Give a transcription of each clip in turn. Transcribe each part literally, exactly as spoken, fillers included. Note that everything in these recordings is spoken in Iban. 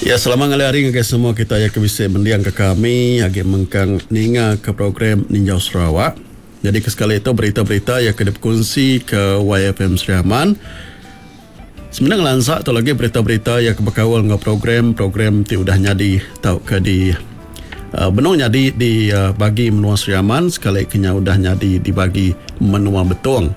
Ya, selamat ngalih hari ngagai semua kita yang ke bisi mending ke kami agi mengkang ninga ke program Ninjau Sarawak. Jadi ke sekali itu berita-berita yang ke dipekunsi ke Y F M Sri Aman. Sebenarnya ngelansa tu lagi berita-berita yang ke bekaul enggau program-program ti udah nyadi tauka di uh, benung nyadi di uh, bagi menua Sri Aman sekali kenya udah nyadi di bagi menua Betong.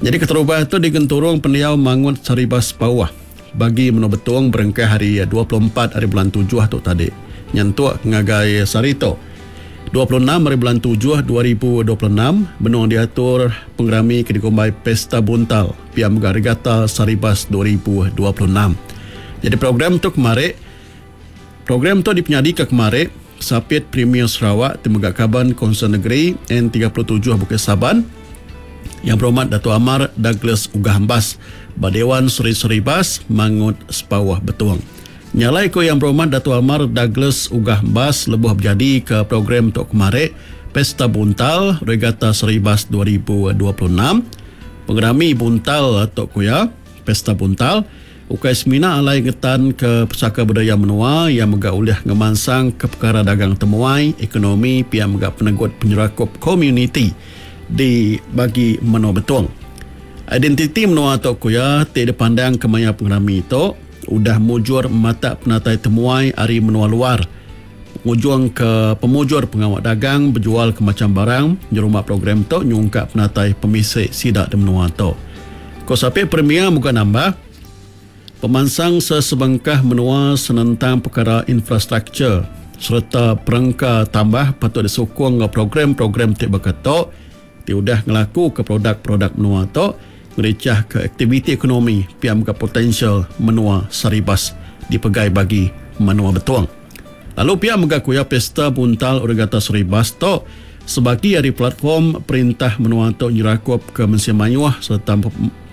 Jadi keterubah tu di Genturung Pendiau Mangut Saribas Pauh bagi menua Betong berengkah hari dua puluh empat hari bulan tujuh tu tadi nyentuk ngagai sehari tu dua puluh enam hari bulan tujuh dua ribu dua puluh enam benung diatur pengerami ke dikumbai Pesta Buntal Pia Mega Regata Saribas dua ribu dua puluh enam. Jadi program tu kemari, program tu dipenyadi ke kemari Sapit Premier Sarawak ti mega Kaban Konsel Negeri N tiga puluh tujuh Bukit Saban Yang Berhormat Dato' Amar Douglas Uggah Embas ba Dewan Seri Seribas Mangut Sepawah Betong. Nyalai ko Yang Berhormat Dato' Amar Douglas Uggah Embas lebuh berjadi ke program tok kemari Pesta Buntal Regata Seribas dua ribu dua puluh enam. Pengerami Buntal tok kuya Pesta Buntal ukai semina alai ngetan ke pesaka budaya menua yang mega ulih ngemansang ke perkara dagang temuai, ekonomi, pia mega penegut penyerakup komuniti di bagi menua Betong. Identiti menua tok kuya ti dipandang ke maya pengerami tok udah mujur mata penatai temuai ari menua luar. Ngujung ke pemujur pengawak dagang berjual ke macam barang nyerumah program tok nyungkap penatai pemisik sidak di menua tok. Ko Sapit Premier muka nambah pemansang sesebengkah menua senentang perkara infrastruktur serta perengka tambah patut disokong enggau program-program ti berketok ti udah ngelaku ke produk-produk menua tok ngericah ke aktiviti ekonomi piam ke potensial menua Saribas dipegai bagi menua Betong. Lalu pihak mega kuya Pesta Buntal Regata Saribas tok sebagi dari platform perintah menua tok nyerakup ke mensia mayuh serta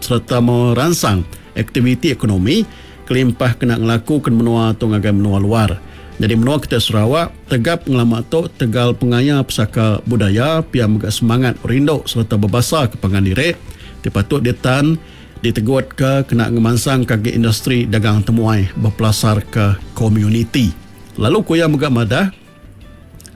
serta merangsang aktiviti ekonomi kelimpah kena ngelaku ke menua tok ngagai menua luar. Jadi menua kita Sarawak tegap ngelama tok tegal pengaya pesaka budaya pia mega semangat rindu serta berbasa ke pangan diri ti patut ditan ditegut ke kena ngemansang kaki industri dagang temuai berpelasar ke komuniti. Lalu kuya mega madah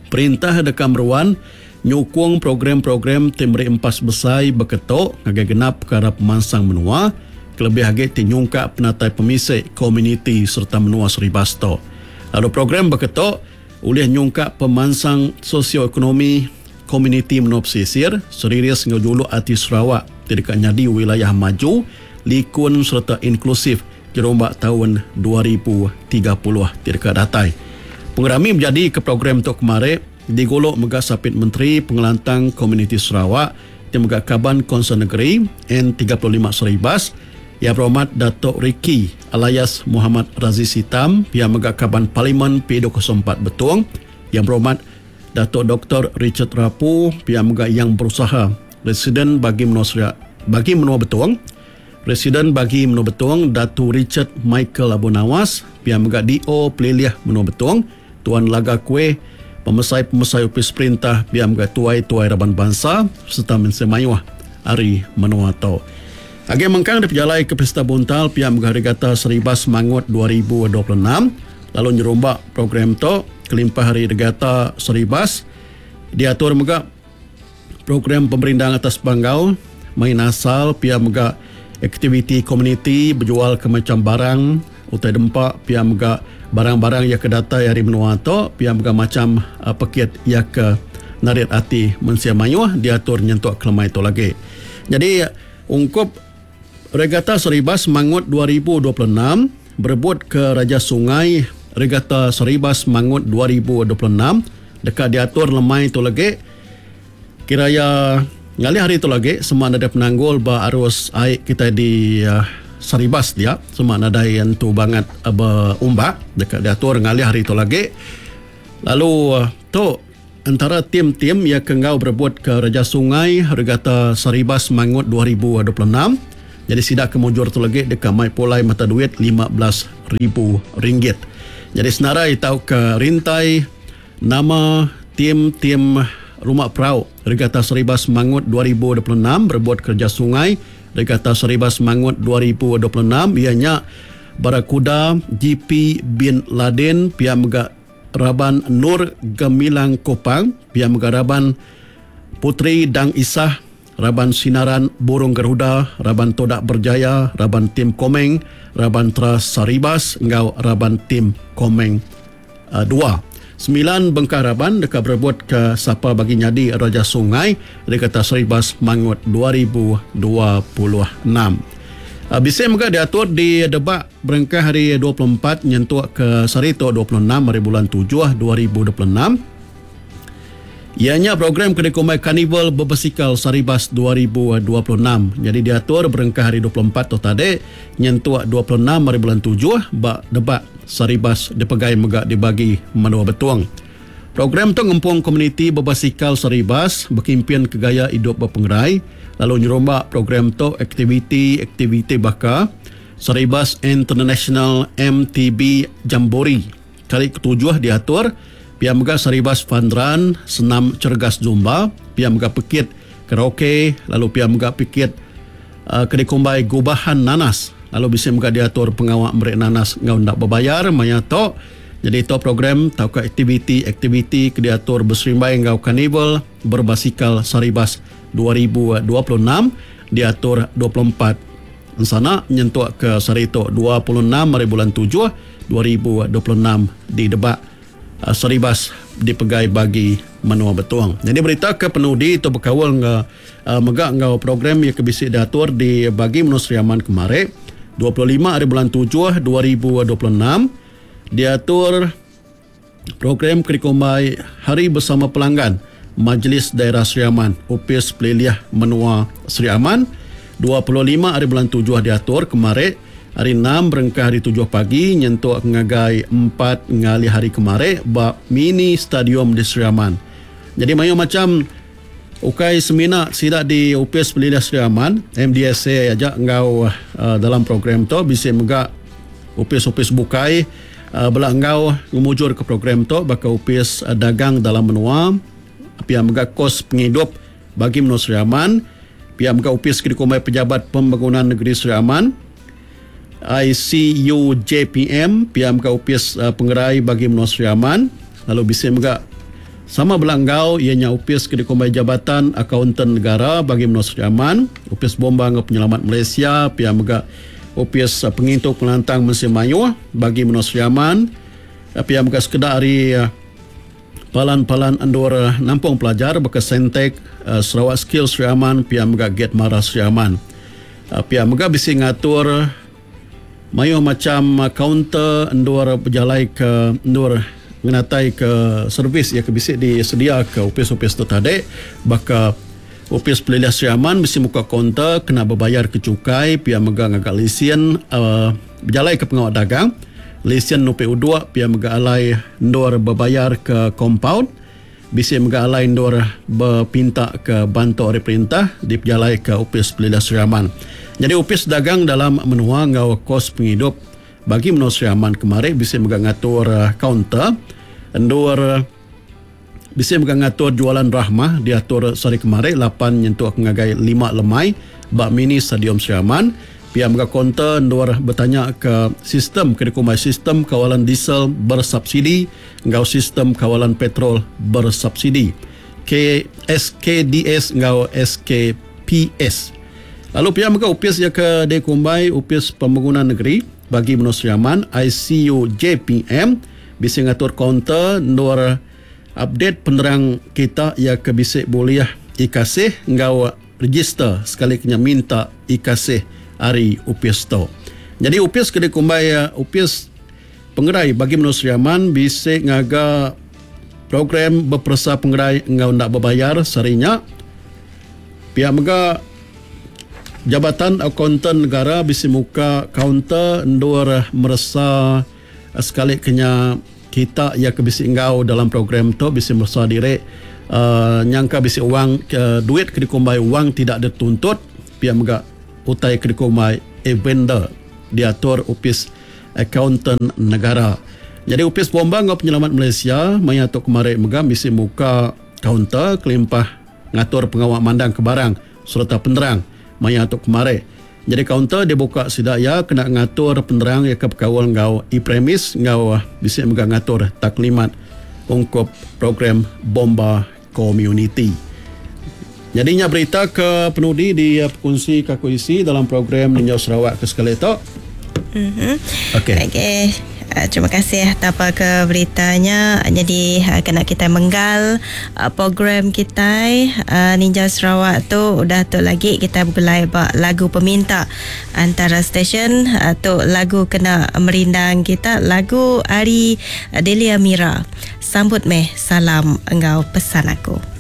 perintah deka meruan nyukung program-program ti meri empas besai beketok ngagai genap perkara pemansang menua kelebih agi ti nyungkak penatai pemisik komuniti serta menua Seribas tok. Lalu program beketok ulih nyungkak pemansang sosioekonomi komuniti menua pesisir seriris enggau juluk ati Sarawak ti deka nyadi wilayah maju, likun serta inklusif jerombak tahun dua ribu tiga puluh ti deka datai. Pengerami menjadi ke program tok kemari digolok mega Sapit Menteri Pengelantang Komuniti Sarawak ti mega Kaban Konsel Negeri N tiga puluh lima Seribas Yang Berhormat Datuk Ricky alias Muhammad Razi Sitam yang mega Kaban Parlimen P dua kosong empat Betong Yang Berhormat Datuk Doktor Richard Rapu yang mega yang berusaha Residen bagi menua Seria, bagi menua Betong Residen bagi menua Betong Datu Richard Michael Abu Nawas yang mega D O Pelilih menua Betong Tuan Laga Kue pemesai-pemesai upis perintah yang mega tuai-tuai raban bangsa serta mensia mayuh ari menua tok. Agi mengkang dipejalai ke Pesta Buntal pihak mega Regata Seribas Mangut dua ribu dua puluh enam lalu nyerumbak program tok kelimpah hari Regata Seribas diatur mega program pemerindang atas panggau main asal pihak mega aktiviti komuniti berjual ke macam barang utai dempak pihak mega barang-barang yang kedatai hari menua tok pihak mega macam uh, pekit yang ke narit ati mensia mayuh diatur nyentuk kelemai tu lagi. Jadi ungkup Regata Seribas Mangut dua ribu dua puluh enam berebut ke Raja Sungai Regata Seribas Mangut dua ribu dua puluh enam dekat diatur lemai tu lagi kiraya ngalih hari tu lagi semua ada penanggul ba arus air kita di uh, Saribas dia semua ada yang tu banget uh, berumbak dekat diatur ngalih hari tu lagi. Lalu uh, tu antara tim-tim yang kenggau berebut ke Raja Sungai Regata Saribas Mangut dua ribu dua puluh enam. Jadi sidak kemujur tu lagi dekat mai pulai mata duit lima belas ribu ringgit. Jadi senarai tau ke rintai nama tim-tim Rumah Perau Regata Seribas Mangut dua ribu dua puluh enam berebut kerja sungai Regata Seribas Mangut dua ribu dua puluh enam ianya Barakuda G P Bin Laden, pia mega raban Nur Gemilang Kopang, pia mega raban Puteri Dang Isah, raban Sinaran Burung Garuda, raban Todak Berjaya, raban Tim Komeng, raban Tra Saribas enggau raban Tim Komeng uh, dua. Sembilan bengkah raban dekat berebut ke sapa bagi nyadi Raja Sungai Regata Saribas Mangut dua ribu dua puluh enam. Uh, bisa mega diatur di Debak berengkah hari dua puluh empat nyentuk ke sehari tu dua puluh enam hari bulan tujuh dua ribu dua puluh enam. Ianya program Kedekumai Karnival Berbasikal Saribas dua ribu dua puluh enam. Jadi diatur berengkah hari dua puluh empat tu tadi nyentuk dua puluh enam hari bulan tujuh bak Debak Saribas dipegai mega dibagi Menua Betong. Program tu ngempung komuniti berbasikal Saribas berkempen ke gaya hidup berpengerai, lalu nyerombak program tu aktiviti-aktiviti baka Saribas International M T B Jamboree kali ketujuh diatur, pia mega Saribas Fun Run, senam cergas Zumba, pia mega pekit karaoke, lalu pia mega pekit uh, kedikumbai gubahan nanas, lalu bisa mega diatur pengawak merek nanas ngau ndak berbayar maya tu. Jadi itu program tau ke aktiviti-aktiviti ke diatur berserimbai ngau Karnival Berbasikal Saribas dua ribu dua puluh enam diatur dua puluh empat sana nyentuk ke sehari tu dua puluh enam hari bulan tujuh dua ribu dua puluh enam di Debak Saribas dipegai bagi Menua Betong. Jadi berita ke penudi itu berkawal nge, uh, mega ngau program yang kebisi diatur di bagi Menua Sri Aman kemarin dua puluh lima hari bulan tujuh dua ribu dua puluh enam diatur program Kerikumbai Hari Bersama Pelanggan Majlis Daerah Sri Aman Upis Peliliah Menua Sri Aman dua puluh lima hari bulan tujuh diatur kemarin hari enam berengkah hari tujuh pagi nyentuk ngagai empat ngali hari kemarin ba mini stadium di Sri Aman. Jadi mayu macam ukai semina sidak di Upis Peliliah Sri Aman M D S A aja ngau uh, dalam program tu bisa mega upis-upis bukai uh, bela ngau ngemujur ke program tu baka upis uh, dagang dalam menua, pia mega kos penghidup bagi Menua Sri Aman, pia mega upis ke dikumbai Pejabat Pembangunan Negeri Sri Aman I C U J P M, pia mega upis uh, pengerai bagi Menua Sri Aman, lalu bisa mega sama belanggau ianya upis ke dikumbai Jabatan Akauntan Negara bagi Menua Sri Aman, upis Bomba Ngau Penyelamat Malaysia, pia mega upis uh, pengintu pengelantang Mesin Mayuh bagi Menua Sri Aman, pia mega sekedar hari uh, palan-palan andur uh, nampung pelajar baka Sentek, uh, Sarawak Skill Sri Aman, pia mega Gate Mara Sri Aman. Uh, pia mega bisi ngatur uh, mayuh macam uh, kaunter andur berjalai ke andur ngenatai ke servis yang kebisik disedia ke upis-upis tu tadi baka upis Peliliah Sri Aman mesti muka kaunter kena berbayar ke cukai pia mega ngagak lesen uh, berjalai ke pengawal dagang lesen N P U dua pia mega alai ndur berbayar ke compound bisa mega alai ndur berpinta ke bantu oleh perintah di pejalai ke upis Peliliah Sri Aman. Jadi upis dagang dalam menua ngau kos penghidup bagi Menua Sri Aman kemarin bisa mega ngatur uh, kaunter endur uh, bisa mega ngatur jualan rahmah diatur sehari kemarin lapan nyentuk ngagai lima lemai bak mini stadium Sri Aman. Pihak mega kaunter endur bertanya ke sistem kedekumai sistem kawalan diesel bersubsidi ngau sistem kawalan petrol bersubsidi K S K D S ngau S K P S. Lalu pihak mega upis ya ke dekumbai upis pembangunan negeri bagi Menua Sri Aman I C U J P M bisa ngatur kaunter ndur update penerang kita ya ke bisik boleh ikasih ngau register sekali kena minta ikasih hari upis tu. Jadi upis ke dikumbai upis pengerai bagi Menua Sri Aman bisa ngaga program berperesa pengerai ngau nak berbayar sarinya. Pihak mega Jabatan Akuntan Negara bisa muka kaunter ndur meresa sekali kena kita ya ke bisi ngau dalam program tu bisa meresa diri uh, nyangka bisi wang uh, duit ke dikumbai wang tidak dituntut pihak mega utai ke dikumbai e-vendor diatur upis Akuntan Negara. Jadi upis Bomba ngau Penyelamat Malaysia maya tu kemarin mega bisi muka kaunter kelimpah ngatur pengawal mandang ke barang serta penerang maya tu kemarin. Jadi kaunter dibuka sida iya kena ngatur penerang iya ke bekaul enggau e-premis enggau bisi mega ngatur taklimat ungkup program bomba komuniti. Jadi nya berita ke penudi di pekunsi ke aku isi dalam program Ninjau Sarawak ke sekali tu. Mm-hmm. Okey. Okey. Uh, terima kasih tapa ke beritanya. Jadi uh, kena kita menggal uh, program kita uh, Ninja Sarawak tu udah tu lagi kita bergulai ba lagu peminta antara stesen uh, tu lagu kena merindang kita lagu Ari Delia Mira. Sambut meh salam engau pesan aku.